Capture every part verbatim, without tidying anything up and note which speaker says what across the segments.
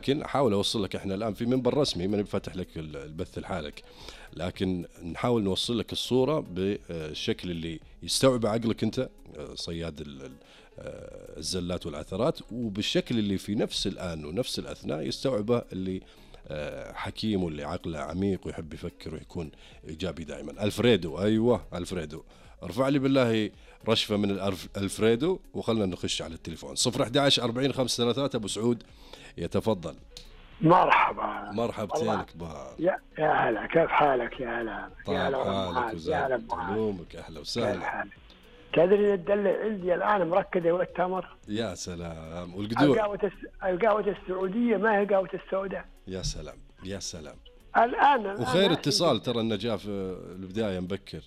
Speaker 1: لكن احاول اوصل لك، احنا الان في منبر رسمي ما بفتح لك البث لحالك، لكن نحاول نوصل لك الصوره بالشكل اللي يستوعب عقلك انت صياد الزلات والعثرات، وبالشكل اللي في نفس الان ونفس الاثناء يستوعبه اللي حكيم واللي عقله عميق ويحب يفكر ويكون ايجابي دائما. الفريدو، ايوه الفريدو، ارفع لي بالله رشفه من الفريدو وخلنا نخش على التليفون. صفر أحد عشر أربعين خمسة ثلاثة. ابو سعود يتفضل.
Speaker 2: مرحبا.
Speaker 1: مرحبتينك با.
Speaker 2: يا يا هلا، كيف حالك يا هلا؟
Speaker 1: طيب حالك وزاد علومك، اهلا وسهلا.
Speaker 2: تدري الدلة عندي الان مركزه والتمر.
Speaker 1: يا سلام. والقدوع
Speaker 2: القهوة القهوة السعودية ما هي قهوة السوداء.
Speaker 1: يا سلام يا سلام.
Speaker 2: الان
Speaker 1: وخير اتصال، ترى النجاة في البداية مبكر.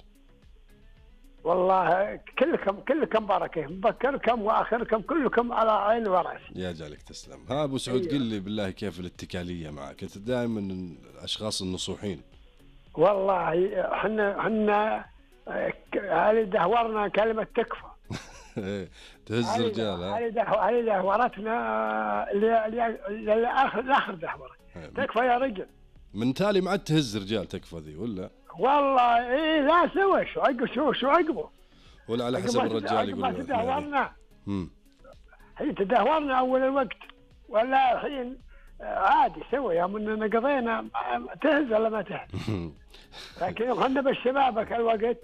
Speaker 2: والله كلكم كلكم بركه، مبكركم واخركم كلكم على عين وراسي.
Speaker 1: يا جالك تسلم. ها ابو سعود، قل لي بالله كيف الاتكاليه معك؟ انت دائما من الاشخاص النصوحين.
Speaker 2: والله احنا احنا هذه دهورنا كلمه تكفى.
Speaker 1: تهز رجال.
Speaker 2: هذه دهورتنا لاخر دهوره. تكفى يا رجل.
Speaker 1: من تالي ما عاد تهز رجال تكفى ذي ولا؟
Speaker 2: والله ايه لا سوى شو عقب شو شو عقبه
Speaker 1: ولا على حسب الرجال يقول.
Speaker 2: ما تدهورنا. امم هي تدهورنا اول الوقت، ولا الحين عادي سوى يا مننا قضينا تهز ولا ما تهز. لكن احنا بالشبابك الوقت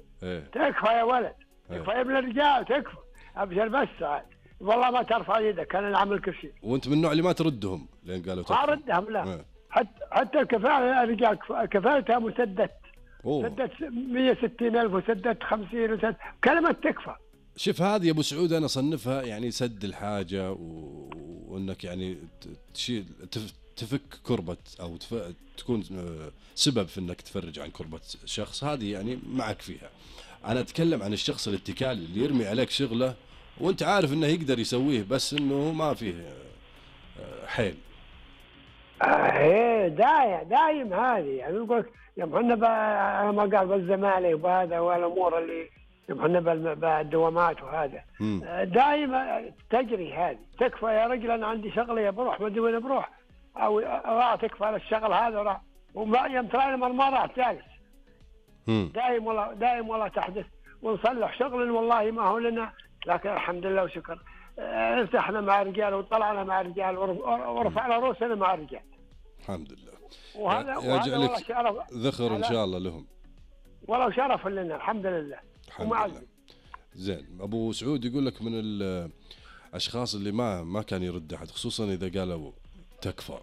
Speaker 2: تكفى يا ولد، تكفى يا ابن الرجال، تكفى ابشر بس عاد. والله ما ترفع يدك، انا نعمل كل شيء.
Speaker 1: وانت من النوع اللي ما تردهم لين قالوا تكفى؟
Speaker 2: ما اردهم لا. حتى حتى الكفاله الرجال كفالتها مسدت. سدت مية وستين ألف وسدت خمسين وسدت كلمة تكفى.
Speaker 1: شوف هذه يا ابو سعود انا اصنفها يعني سد الحاجه، و... وانك يعني تشيل تفك كربه او تف... تكون سبب في انك تفرج عن كربه شخص، هذه يعني معك فيها. انا اتكلم عن الشخص الاتكالي اللي يرمي عليك شغله وانت عارف انه يقدر يسويه بس انه ما فيه حيل.
Speaker 2: ايه دايم دايم هذه يعني نقول يوم احنا ما قال بالزمالك وهذا والامور اللي يوم احنا بالدوامات وهذا دايما تجري هذه. تكفى يا رجل انا عندي شغله بروح ما ادري وين بروح، او راح تكفى على الشغل هذا راح وما يوم ترى ما راح جالس. دايم والله دايم والله تحدث ونصلح شغل والله ما هو لنا، لكن الحمد لله وشكر ارتحنا مع الرجال وطلعنا مع الرجال ورفعنا رؤوسنا مع الرجال.
Speaker 1: الحمد لله.
Speaker 2: وهذا
Speaker 1: يجعلك ذخر ان شاء الله لهم.
Speaker 2: والله شرف لنا الحمد لله.
Speaker 1: الحمد لله. زين. ابو سعود يقول لك من الاشخاص اللي ما ما كان يرد احد خصوصا اذا قالوا تكفى.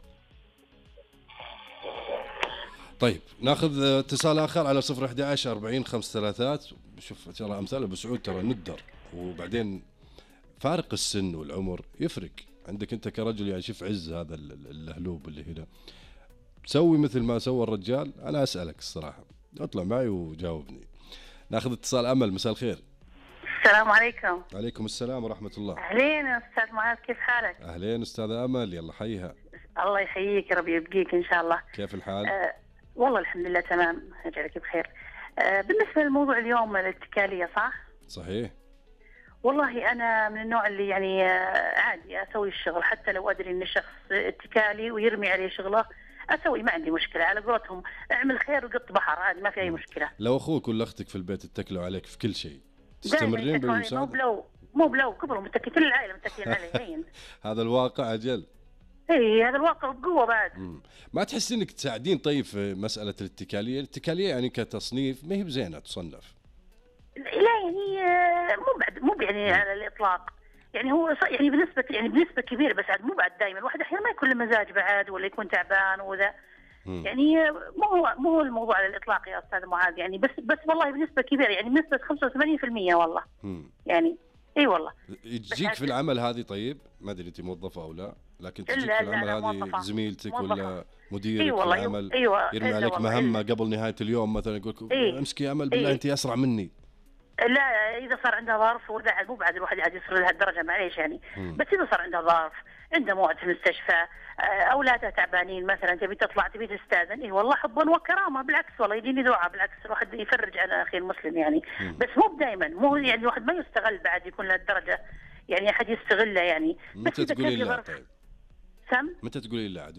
Speaker 1: طيب ناخذ اتصال اخر على صفر أحد عشر أربعين خمسة ثلاثات. شوف ترى امثال ابو سعود ترى ندر، وبعدين فارق السن والعمر يفرق عندك انت كرجل. يعني شوف عز هذا اللهلوب اللي هنا، سوي مثل ما سوى الرجال. انا اسالك الصراحه، اطلع معي وجاوبني. ناخذ اتصال. امل، مساء الخير.
Speaker 3: السلام عليكم.
Speaker 1: عليكم السلام ورحمه الله.
Speaker 3: اهلين يا استاذ معاذ، كيف حالك؟
Speaker 1: اهلين استاذه امل، يلا حيها.
Speaker 3: الله يحييك يا رب يبقيك ان شاء الله.
Speaker 1: كيف الحال؟
Speaker 3: آه والله الحمد لله تمام، يجعلك بخير. آه بالنسبه للموضوع اليوم الاتكاليه، صح؟
Speaker 1: صحيح.
Speaker 3: والله أنا من النوع اللي يعني عادي أسوي الشغل حتى لو أدري إن الشخص اتكالي ويرمي عليه شغله أسوي، ما عندي مشكلة. على قولتهم اعمل خير وقط بحر، عادي ما في أي مشكلة.
Speaker 1: لو أخوك ولا أختك في البيت اتكلوا عليك في كل شيء تستمرين بالمساعدة؟
Speaker 3: مو بلو مو بلو كبروا متكلين، كل العائلة متكلين عليه.
Speaker 1: هذا الواقع أجل.
Speaker 3: اي هذا الواقع بقوة بعد.
Speaker 1: مم. ما تحس إنك تساعدين طيب في مسألة الاتكالية؟ الاتكالية يعني كتصنيف ما هي بزينة تصنف.
Speaker 3: لا يعني مو بعد مو يعني على الاطلاق، يعني هو يعني بنسبه يعني بنسبه كبيره، بس عاد مو بعد دائما. الواحد احيانا ما يكون له مزاج بعد ولا يكون تعبان وذا، يعني مو هو مو هو الموضوع على الاطلاق يا استاذ معاذ. يعني بس بس والله بنسبه كبيره، يعني بنسبه خمسة وثمانين بالمئة والله. مم. يعني اي والله.
Speaker 1: تجيك في العمل هذه طيب؟ ما ادري انت موظفه او لا، لكن تجيك في العمل هذه زميلتك موظفة. ولا مديرك
Speaker 3: إيه
Speaker 1: في العمل
Speaker 3: أيوة
Speaker 1: يرمي عليك
Speaker 3: أيوة
Speaker 1: مهمه إيه قبل نهايه اليوم مثلا، يقول لك
Speaker 3: إيه
Speaker 1: امسكي يا امل بالله إيه انت اسرع مني.
Speaker 3: لا اذا صار عنده ظرف ولا مو بعد الواحد عاد يصل لهالدرجه معليش يعني. مم. بس اذا صار عنده ظرف، عنده موعد في المستشفى، اولاده تعبانين مثلا، تبي تطلع تبي تستاذن، اي والله حبا وكرامه، بالعكس والله يديني دعاء، بالعكس الواحد يفرج على اخي المسلم يعني. مم. بس مو دائما، مو يعني الواحد ما يستغل بعد يكون لهالدرجه، يعني احد يستغله يعني.
Speaker 1: بس اذا تقولي لا طيب
Speaker 3: سم.
Speaker 1: متى تقولي لا عدو؟